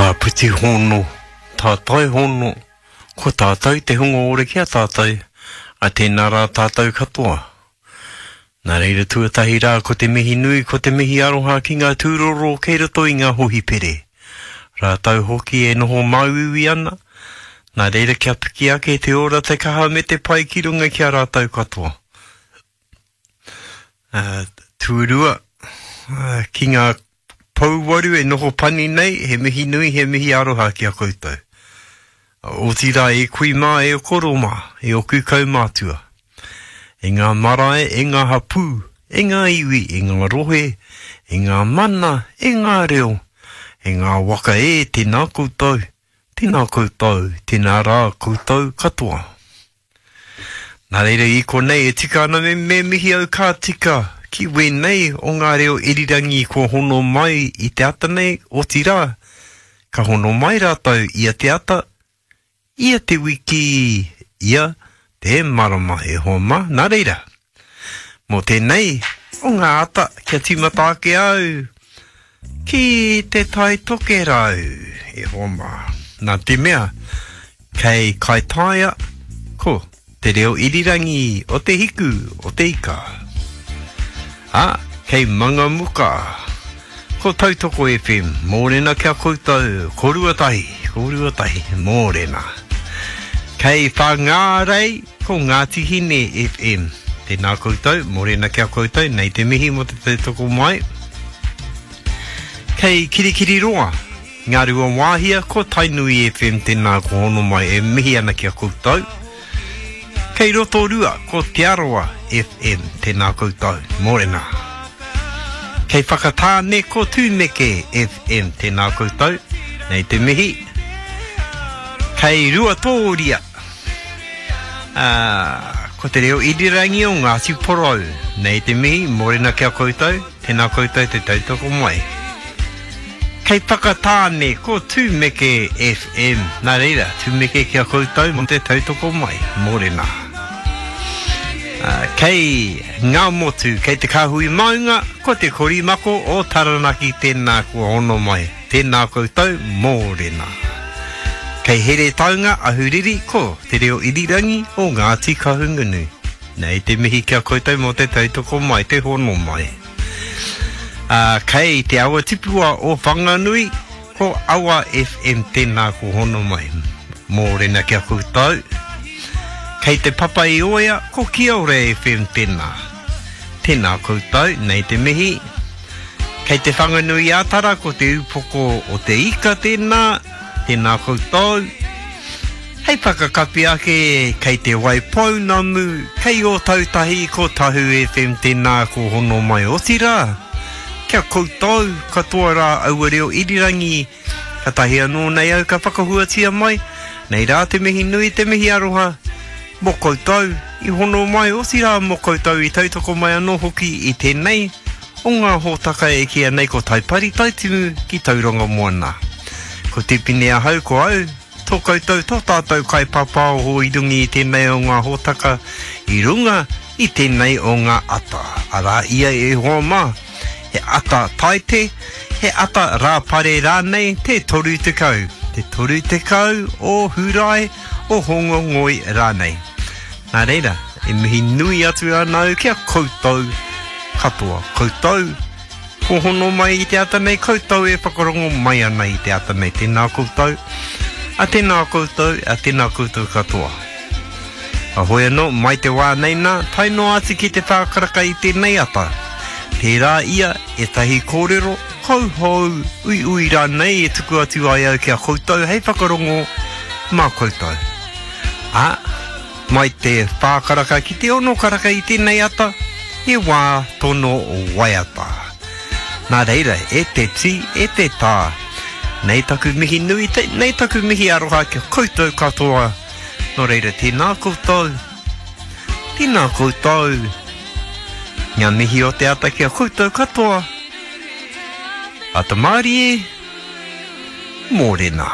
Āpiti hono, tātai hono, ko tātou te hunga ora ki a tātou, a tēnā rā tātou katoa. Nā reira tuatahi rā ko te mihi nui, ko te mihi aroha ki ngā tūroro kei roto i ngā hohipere. Rātou hoki e noho māuiui ana, nā reira kia piki ake te ora, te kaha me te pai ki runga ki a rātou katoa. Uh, tuarua, uh, ki ngā pouwaru e noho pani nei, he mihi nui, he mihi aroha ki a koutou. Otirā e kui mā, e koro mā, e oku kaumātua. E ngā marae, e ngā hapū, e ngā iwi, e ngā rohe, e ngā mana, e ngā reo, e ngā waka e, tēnā koutou, tēnā koutou, tēnā rā koutou katoa. Nā reira i konei e tika ana me, me mihi au ka tika ki wēnei o ngā reo irirangi kua hono mai i te ata nei, otirā, ka hono mai rātou ia te ata, ia te wiki, ia te marama e hoa mā. Nā reira, mō tēnei o ngā ata kia tīmata ake au ki te Tai Tokerau e hoa mā. Nā te mea, Kei Kaitaia, ko Te Reo Irirangi o Te Hiku o Te Ika. Ā, kei Mangamuka, ko Tautoko FM, mōrena ki a koutou, ko Ruatahi, ko Ruatahi, mōrena. Kei Whangārei, ko Ngāti Hine FM. Tēnā koutou, mōrena ki a koutou, nei te mihi mō te tautoko mai. Kei Kirikiriroa, Ngāruawāhia, ko Tainui FM tēnā ko hono mai e mihi ana ki a koutou. Kei Rotorua, ko Te Arawa FM tēnā koutou, mōrena. Kei Whakatāne, ko Tūmeke FM tēnā koutou, nei te mihi. Kei Ruatōria, ā, ko te reo irirangi o Ngāti Porou, nei te mihi, mōrena ki a koutou. Tēnā koutou te tautoko mai. Kei Whakatāne, ko Tūmeke FM. Nā reira, tūmeke ki a koutou mō te tautoko mai. Mōrena. Kei Ngāmotu, kei Te Kāhui Maunga, ko Te Korimako o Taranaki tēnā kua hono mai. Tēnā koutou, mōrena. Kei Heretaunga, Ahuriri, ko Te Reo Irirangi o Ngāti Kahungunu. Nei te mihi ki a koutou mō te tautoko mai, te hono mai. Ā, kei te awa tipua o Whanganui, ko Awa FM tēnā ko hono mai. Mōrena ki a koutou. Kei te papa i Oea, ko Kiore FM tēnā. Tēnā koutou, nei te mihi. Kei te Whanganui a Tara, ko te upoko o te ika tēnā. Tēnā koutou. Hei whakakapi ake, kei Te Waipounamu, kei Ōtautahi, ko Tahu FM tēnā ko hono mai otirā, kia koutou katoa rā aua reo irirangi, katahi anō nei au ka whakahuatia mai, nei rā te mihi nui, te mihi aroha, mō koutou i hono mai, otirā mō koutou i tautoko mai anō hoki i tēnei o ngā hōtaka e kīia nei ko Taipari Taitimu ki Tauranga Moana. Ko Tipene ahau, ko au, tō koutou, tō tātou kaipāpāoho i runga i tēnei o ngā hōtaka, i runga i tēnei o ngā ata. Arā ia e hoa mā, he ata Taite, he ata Rāpare rānei te 30, te 30 o Hūrae, o Hōngongoi rānei. Nā reira, e mihi nui atu ana au ki a koutou katoa. Koutou, kua hono mai i te ata nei, koutou e whakarongo mai ana i te ata nei. Tēnā koutou, a tēnā koutou, a tēnā koutou katoa. A hoi anō, mai te wā nei nā, tae noa atu ki te whākaraka i tēnei ata. Tērā ia ētahi kōrero, kauhou, uiui rānei e tuku atu ai au ki a koutou hei whakarongo mā koutou. Ā, mai te whā karaka ki te ono karaka i tēnei ata, he wā tono waiata. Nā reira, e te tī, e te tā, nei taku mihi nui, nei taku mihi aroha ki a koutou katoa, nō reira tēnā koutou, tēnā koutou, ngā mihi o te ata ki a koutou katoa, ata mārie, mōrena.